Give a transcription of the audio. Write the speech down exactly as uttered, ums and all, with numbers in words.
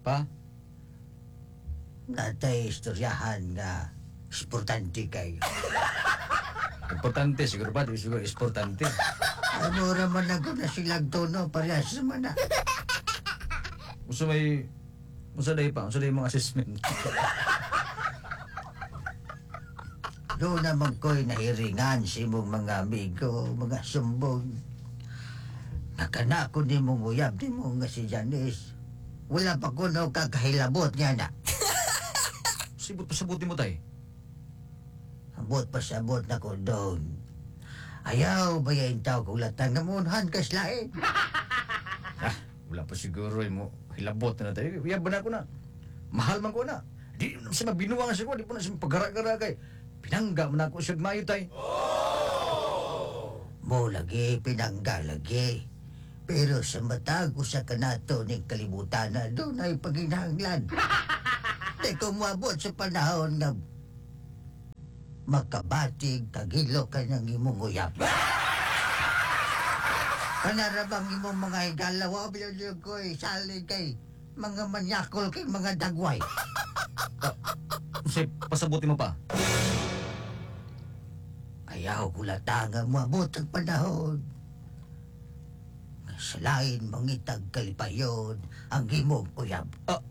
Pa? Natay istoryahan nga importante kayo. Importante siguro pa, di siguro importante. Ay, mura man ako na silang tono, parehas naman na. Usa may usa day pa, usa day mga assessment. Doon naman ko'y nahiringan sa imong mga amigo, mga sumbong. Nakana ko ni mong uyab ni mo nga si Janice. Wala pa ko no kakahilabot niya na. Sibot pa sabuti mo tay. Abot pa sabot na ko doon. Ayaw ba yung tao kung latang ngamunhan kas lain? Ah, wala pa siguro eh, mo hilabot na tayo. Uyab ba na ako na? Mahal man ko na. Di na siya mabinuwang siya ko, di po na siya pagara-gara kay. Pinangga man ako siya mayo tay. Mo lagi, pinangga lagi. Pero sa matag usa ka nato ning kalibutan na doon ay paginahanglan. Di ko moabot sa panahon nga makabatig kagilo ka ng imong uyab. Kanarabang imong mga higala, wa bilog ko'y salig kay mga manyakol kay mga dagway. Unsay pasabuti mo pa? Ayaw ko latanga moabot ang panahon. Nga sa lain mangitag kalipayon ang imong uyab. Ah,